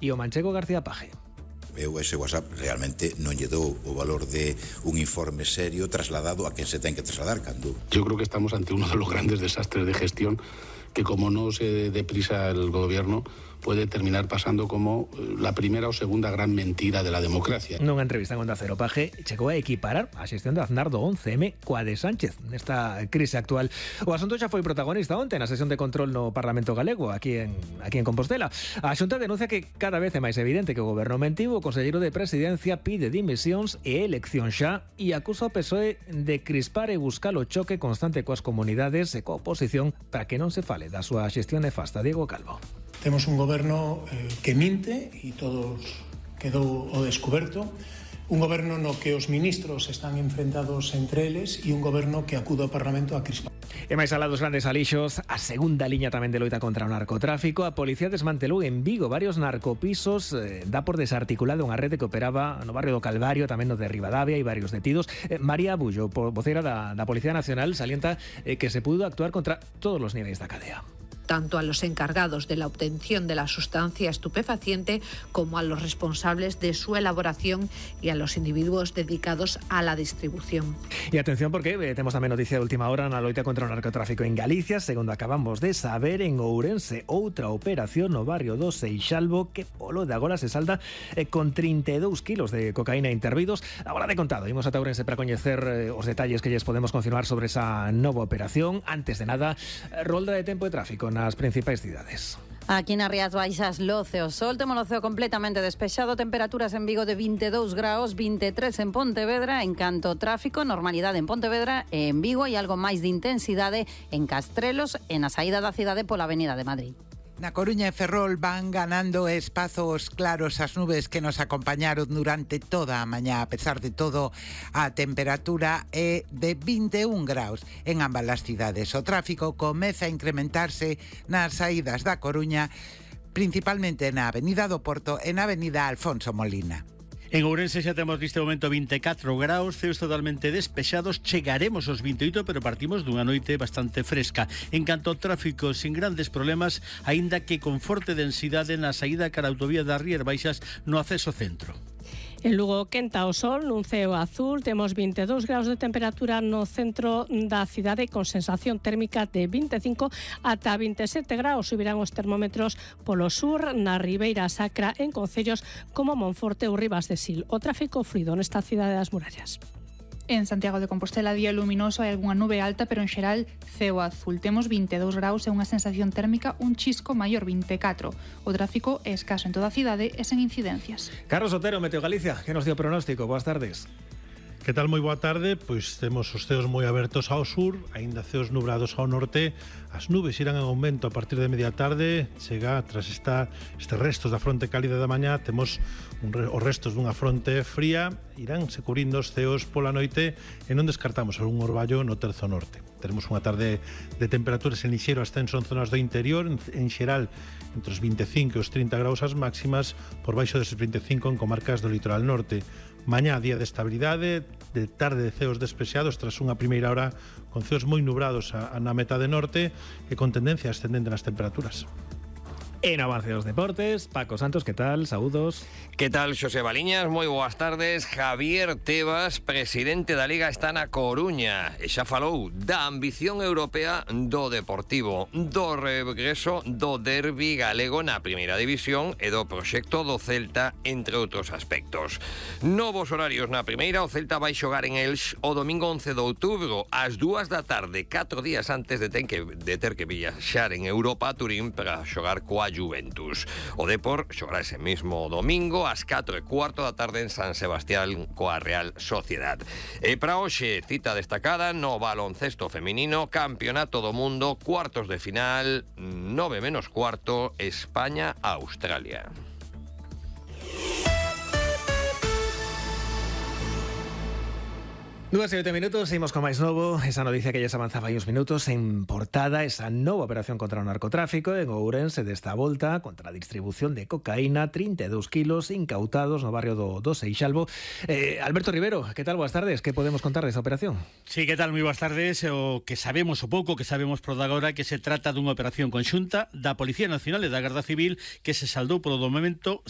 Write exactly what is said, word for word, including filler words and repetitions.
e o manchego García Paje. Eu ese WhatsApp realmente non lle dou o valor de un informe serio trasladado a quen se ten que trasladar cando. Yo creo que estamos ante uno de los grandes desastres de gestión que, como no se dé prisa el gobierno, puede terminar pasando como la primera o segunda gran mentira de la democracia. Nunha entrevista en Onda Cero, Paje chegou a equiparar a xestión de Aznar do once eme coa de Sánchez nesta crise actual. O asunto xa foi protagonista onte na sesión de control no Parlamento Galego, aquí en, aquí en Compostela. A Xunta denuncia que cada vez é máis evidente que o goberno mentiu. O conselleiro de Presidencia pide dimisións e elección xa e acusa o P S O E de crispar e buscar o choque constante coas comunidades e coa oposición para que non se fale da súa xestión nefasta. Diego Calvo. Temos un goberno eh, que minte e todos quedou o descuberto, un goberno no que os ministros están enfrentados entre eles e un goberno que acude ao Parlamento a crispar. E máis alá dos grandes alixos, a segunda liña tamén de loita contra o narcotráfico. A policía desmantelou en Vigo varios narcopisos, eh, dá por desarticulada unha rede que operaba no barrio do Calvario, tamén no de Ribadavia, e varios detidos. Eh, María Abullo, vocera da, da Policía Nacional, salienta eh, que se pudo actuar contra todos os niveis da cadea. Tanto a los encargados de la obtención de la sustancia estupefaciente como a los responsables de su elaboración y a los individuos dedicados a la distribución. E atención porque eh, temos tamén noticia de última hora na loita contra o narcotráfico en Galicia. Segundo acabamos de saber, en Ourense outra operación no barrio do Seixalbo que polo de agora se salda eh, con trinta e dous kilos de cocaína intervidos. Agora de contado, imos ata Ourense para coñecer eh, os detalles que lles podemos confirmar sobre esa nova operación. Antes de nada, eh, rolda de tempo e tráfico nas principais cidades. Aquí nas Rías Baixas, loce o sol, temos o ceo completamente despexado, temperaturas en Vigo de vinte e dous graus, vinte e tres en Pontevedra. En canto tráfico, normalidade en Pontevedra e en Vigo, e algo máis de intensidade en Castrelos e na saída da cidade pola Avenida de Madrid. Na Coruña e Ferrol van ganando espazos claros as nubes que nos acompañaron durante toda a mañá. A pesar de todo, a temperatura é de vinte e un graus en ambas as cidades. O tráfico comeza a incrementarse nas saídas da Coruña, principalmente na Avenida do Porto e na Avenida Alfonso Molina. En Ourense xa temos neste momento vinte e catro graus, ceos totalmente despexados, chegaremos aos vinte e oito, pero partimos dunha noite bastante fresca. En canto ao tráfico, sin grandes problemas, aínda que con forte densidade na saída cara a autovía das Rías Baixas no acceso centro. En Lugo quenta o sol, nun ceo azul, temos vinte e dous graus de temperatura no centro da cidade con sensación térmica de vinte e cinco ata vinte e sete graus. Subirán os termómetros polo sur, na Ribeira Sacra, en concellos como Monforte ou Ribas de Sil. O tráfico fluido nesta cidade das murallas. En Santiago de Compostela, día luminoso, hai algunha nube alta, pero en xeral ceo azul. Temos vinte e dous graus e unha sensación térmica un chisco maior, vinte e catro. O tráfico é escaso en toda a cidade e sen incidencias. Carlos Otero, Meteo Galicia, que nos dio pronóstico. Boas tardes. Que tal? Moi boa tarde. Pois temos os ceos moi abertos ao sur, aínda ceos nubrados ao norte. As nubes irán en aumento a partir de media tarde. Chega, tras esta, estes restos da fronte cálida da mañá, temos un, os restos dunha fronte fría. Irán se cubrindo os ceos pola noite e non descartamos algún orballo no terzo norte. Teremos unha tarde de temperaturas en lixeiro ascenso en zonas do interior, en, en xeral entre os vinte e cinco e os trinta graus as máximas, por baixo deses vinte e cinco en comarcas do litoral norte. Mañá, día de estabilidade, de tarde de ceos despexados tras unha primeira hora con ceos moi nubrados a, a na metade norte e con tendencia ascendente nas temperaturas. En avance dos deportes, Paco Santos, que tal? Saúdos. Que tal, Xosé Baliñas? Moi boas tardes. Javier Tebas, presidente da Liga, está na Coruña e xa falou da ambición europea do Deportivo, do regreso do derbi galego na primeira división e do proxecto do Celta, entre outros aspectos. Novos horarios na primeira, o Celta vai xogar en Elx o domingo once de outubro ás dúas da tarde, catro días antes de, ten que, de ter que viaxar en Europa a Turín para xogar coa Juventus. O Depor xogará ese mismo domingo ás catro e cuarto da tarde en San Sebastián coa Real Sociedad. E para hoxe, cita destacada no baloncesto feminino, Campeonato do Mundo, cuartos de final, nove menos cuarto, España-Australia. Dúas e oito minutos, seguimos con máis novo. Esa noticia que ya se avanzaba aí uns minutos en portada, esa nova operación contra o narcotráfico en Ourense desta volta contra a distribución de cocaína, trinta e dous kilos incautados no barrio do, do Seixalbo. Eh, Alberto Rivero, que tal? Boas tardes, que podemos contar desa operación? Sí, que tal? Moi boas tardes. O que sabemos o pouco que sabemos por agora que se trata dunha operación conxunta da Policía Nacional e da Garda Civil que se saldou polo momento